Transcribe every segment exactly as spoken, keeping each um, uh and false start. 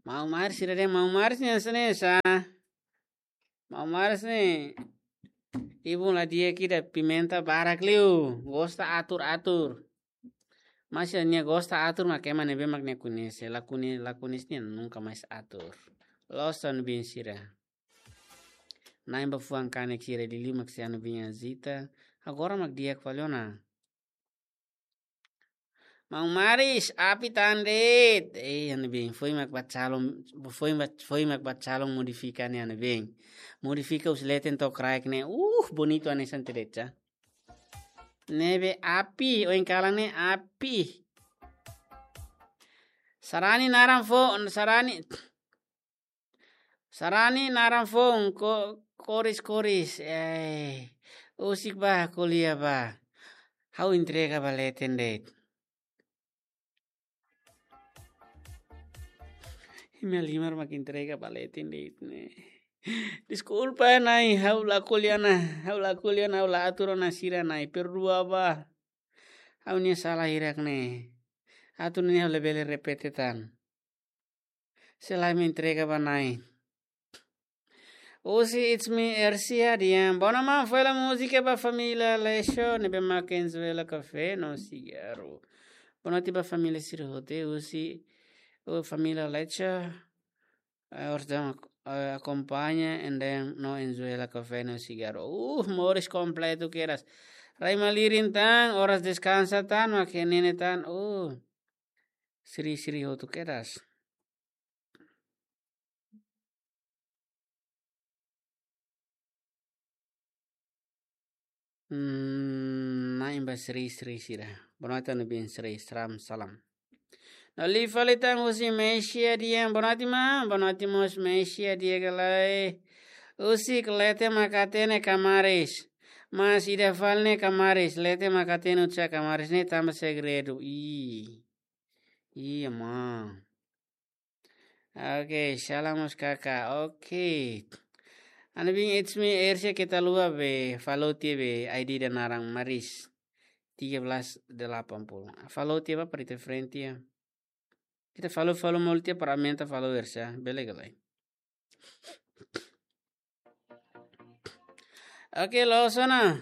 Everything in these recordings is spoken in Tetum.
Maun Maris sira dehan, Maun Maris ne'e hanesan ne'e sá. Maun Maris ne'e ibun la di'ak ida, pimenta barak liu, gosta atur-atur. Mas nia gosta atur mak ema ne'ebé mak nia koñese, la koñe-, la koñese nia nunka mais atur. Loos, ha'u-nia biin sira. Na'in ba fuan kanek sira liuliu mak sei ha'u-nia biin Azita. Agora mak di'ak fali ona. Maun Maris, api tan de'it. Eh, ha'u-nia biin, foin mak ba calon, foin ba, foin mak ba calon modifika ne'e, ha'u-nia biin. Modifika husi leten to'o kraik ne'e. Uh, bonitu hanesan de'it sá. Ne'ebé api, oin kalan ne'e api. Sarani naran foun, sarani. Sarani naran foun, ko-, koris-koris. Eh, husik bá, ko'alia bá. Ha'u entrega ba leten de'it. Imi halimar mak entrega ba leten de'it ne'e. Deskulpa, Nai, ha'u la ko'alia ona, ha'u la ko'alia ona, ha'u la atur ona sira, Nai, perdua bá. Ha'u-nia sala hirak ne'e. Atu nune'e ha'u labele repete tan. Sei la, imi entrega ba Nai. Husi It's Me Ersia dehan, boa noite maun, fó hela múzika ba família Leixo, ne'ebé mak Venezuela Café no Cigarro. Boa noite ba família sira hotu, husi, o família Leixo, eh, oras daudaun, eh, akompaña, and then no Venezuela Café no Cigarro. Uh, moris kompletu kedas. Rai malirin tan, oras deskansa tan, mak ne'e tan. Uh, siri-siri hotu kedas. Hmm, na'in ba siri-siri sira. Boa noite, ha'u-nia biin sira, salam, salam. No liu fali tan husi Mesia dehan, boa noite maun, boa noite mós Mesia dehan ka lae. Husik, leten mak hatene kamaris. Mas ida fali ne'e kamaris, leten mak hatene oinsá kamaris ne'e tanba segredu. Ih. Iya, maun. Oke, salam mós Kaka. Oke. Ha'u-nia biin It's Me Ersia, keta haluha be follow tiha be I D ida naran Maris tiga belas delapan puluh. Follow tiha bá para ita friend tiha. Ita follow, follow malu tiha para aumenta follower sá. Bele ka lae. Oke, loos ona.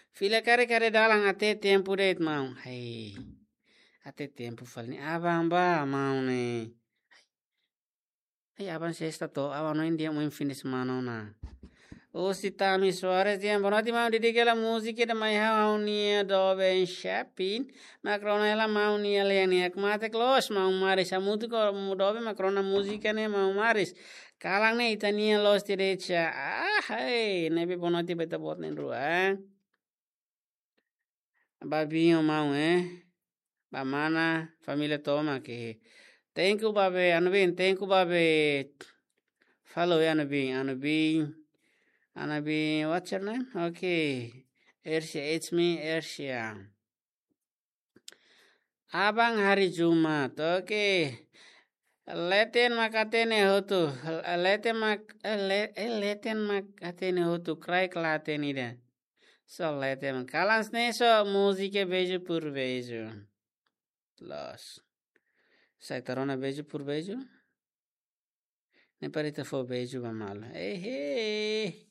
Fila karik haree dalan, até tempu de'it maun. Hai. Até tempu fali ne'e. Aban bá maun ne'e. Ai, aban sesta to, aban no India mo fin de semana ona. Husi Tami Soares dehan, boa noite maun, dedika hela múzika ida mai ha'u, ha'u-nia doben Chapin. Mak rona hela maun nia lean ne'e. Ak mate close maun Maris, hamutuk ho maun doben mak rona múzika ne'e maun Maris. Kalan ne'e ita-nian loos tiha de'it sá. Ah, hai, ne'ebé boa noite ba ita-boot na'in-rua, eh. Ba biin ho maun, eh. Ba mana, família tomak. Thank you ba be, ha'u-nia biin, thank you ba be. Follow ya, ha'u-nia biin, ha'u-nia biin. Ha'u-nia biin, what's your name? Okay. Ersia, it's me, Ersia. Aban hari Jumat, oke. Leten mak hatene hotu, leten mak, eh, le-, eh, leten mak hatene hotu, kraik la hatene ida. So leten mak. Kalan ne'e so múzika Beijo por Beijo. Loos. Sai ita rona Beijo por Beijo. Ne'e para ita fó beijo ba malu. Ehe.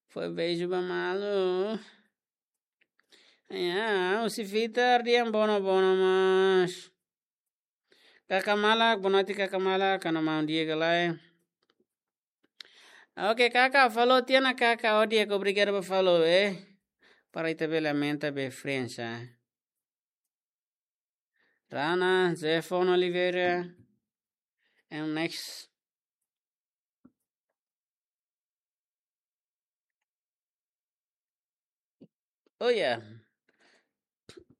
Fó beijo ba malu. Ya, husi Vitar dehan bono bono mas. Kaka malak, boa noite kaka malak, ha'u-nia maun di'ak ka lae. Oke, kaka, follow tiha ona kaka, ó di'ak, obrigadu ba follow, eh. Para ita bele aumenta be friends, eh. Rana, Jefon Oliveira. And next. Oh yeah.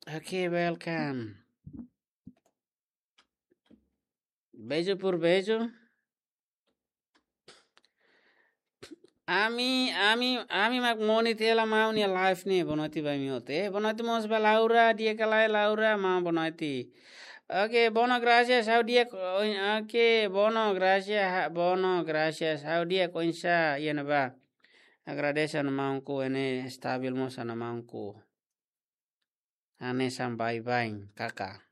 Okay, welcome. Beijo por beijo. Ami, ami, ami mak moni tiha hela maun nia live ne'e, boa noite ba imi hotu. Eh, boa noite mós ba Laura, di'ak ka lae Laura, maun boa noite. Oke, bono gracias, ha'u di'ak, oin-, oke, bono gracias, ha-, bono gracias, ha'u di'ak oinsá iha ne'ebá. Agradese ha'u-nia maunku, ne'e stabil mós ha'u-nia maunku. Hanesan baibain, kaka.